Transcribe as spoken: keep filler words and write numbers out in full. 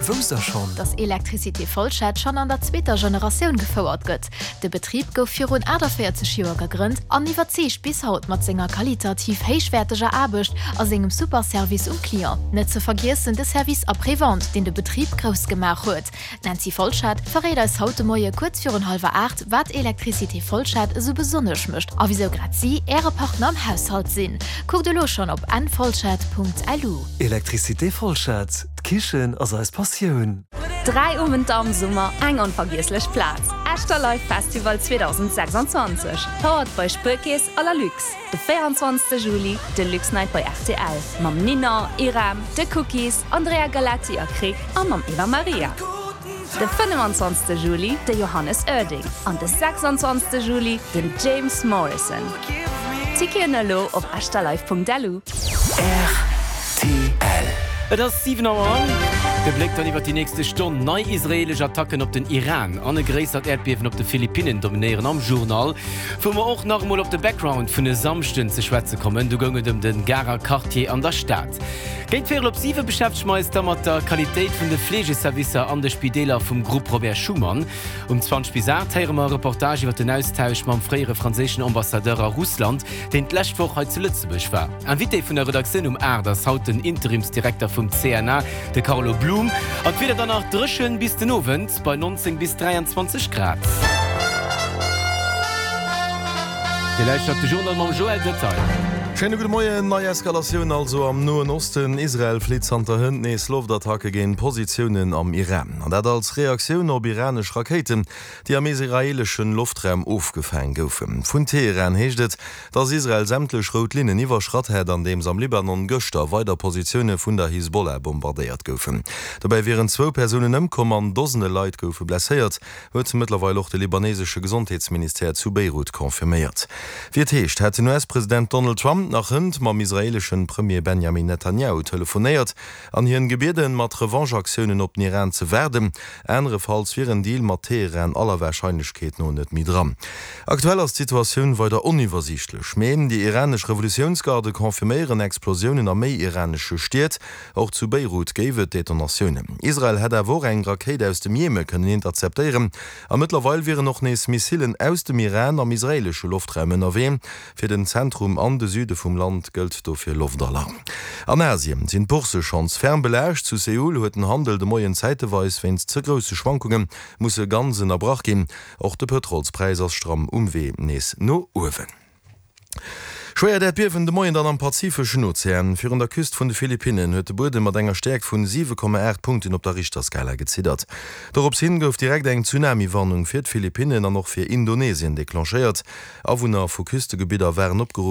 Wousst der schonn? Dass Electricité Folschette schonn an der zweeter Generatioun gefouert gëtt. De Betrib gouf virun achtaviertzeg Joer gegrënnt an iwwerzeegt bis haut mat senger qualitativ héichwäerteger Aarbecht a sengem super Service um Client. Net ze vergiessen de Service après-vente, deen de Betrib grouss gemaach huet. D'Nancy Folschette verréit eis haut de Moie kuerz virun hallwer aacht, wat Electricité Folschette esou besonnesch mécht a wisou grad si Äre Partner am Haushalt sinn. Kuckt elo schonn op nfolschette.lu. Electricité Folschette, d'Kichen ass eis Passioun. Dräi Owenter am Summer, eng onvergiesslech Plaz. Esch Live Festival zweedausendsechsanzwanzeg, powered by Spuerkeess a Lalux. De véierundzwanzegste Juli, de Lux Night bei R T L. Mam Nina, Irem, The Cookies, Andrea Galetti a Krick a mam Eva Maria. De fënnefenzwanzegste Juli, de Johannes Oerding. An de sechsanzwanzegste Juli, den James Morrison. Ticketen elo op echterlive Punkt L U. R T L. Et ass siwen Auer. De Bléck dann iwwer déi nächste Stonn. Nei israeelesch Attacken op den Iran an e gréissert Äerdbiewen op de Philippinnen dominéieren am Journal. Wou mer och nach emol op de Background vun e Samschden ze schwätze kommen. Do goung et ëm de Garer Quartier an der Stad. Géint véierel op siwe beschäftege mer eis da mat der Qualitéit vun de Fleegeservicer an de Spideeler vum Grupp Robert Schuman. Um zwanzeg bis aacht héiere mer e Reportage iwwer den Austausch mam fréiere franséischen Ambassadeur a Russland, deen d'lescht Woch hei zu Lëtzebuerg war. Invité vun der Redaktioun um aacht ass haut den Interimsdirekter vum C N A, de Carlo Blum. An d'Wieder dann nach dréchen bis den Owend bei nonzéng bis dräianzwanzeg Grad. Dir lauschtert de Journal mam Joël Detail. Schéine gudde Moien. Nei Eskalatioun also am Noen Osten. Israel flitt zanter hënt nees Loftattacke géint Positiounen am Iran. An dat als Reaktioun op iranesch Rakéiten, déi am israeelesche Loftraum ofgefaang goufen. Vun Teheran heescht et, datt Israel sämtlech rout Linnen iwwerschratt hätt, andeems am Libanon gëschter weider Positioune vun der Hisbollah bombardéiert goufen. Dobäi wieren zwou Persounen ëmkomm an Dosende Leit goufe blesséiert, huet mëttlerweil och de libanesesche Gesondheetsministère zu Beirut confirméiert. Wéi et heescht, hätt den U S-President Donald Trump nach hënt mam israeeleschen Premier Benjamin Netanyahu telefonéiert an hien gebieden, mat Revanche-Aktiounen op den Iran ze waarden. Anerefalls wier en Deal mat Teheran aller Warscheinlechkeet no net méi dran. Aktuell ass d'Situatioun weider oniwwersiichtlech, mee déi iranesch Revolutiounsgarde confirméieren Explosiounen a méi iranesche Stied. Och zu Beirut géif et Detonatiounen. Israel hätt awer och eng Rakéit aus dem Jemen kënnen interceptéieren a mëttlerweil wieren och nees Missilen aus dem Iran am israeelesche Loftraum ënnerwee. Fir den Zentrum an de Süde vum Land gëllt dofir Loftalarm. An Asien sinn d'Boursse schonns ferm belaascht. Zu Seoul huet den Handel de Moien zäiteweis wéinst ze grousse Schwankunge musse ganz ënnerbrach ginn. Och de Pëtrolspräis ass stramm um Wee nees no uewen. Schwéiert Äerdbiewen de Moien dann am Pazifeschen Ozean. Virun der Küst vun de Philippinnen huet de Buedem mat enger Stäerkt vun siwe Komma aacht Punkten op der Richterskala geziddert. Dorops hin gouf direkt eng Tsunami-Warnung fir d'Philippinnen an och fir Indonesien declenchéiert. Awunner vu Küstegebidder waren opgeruff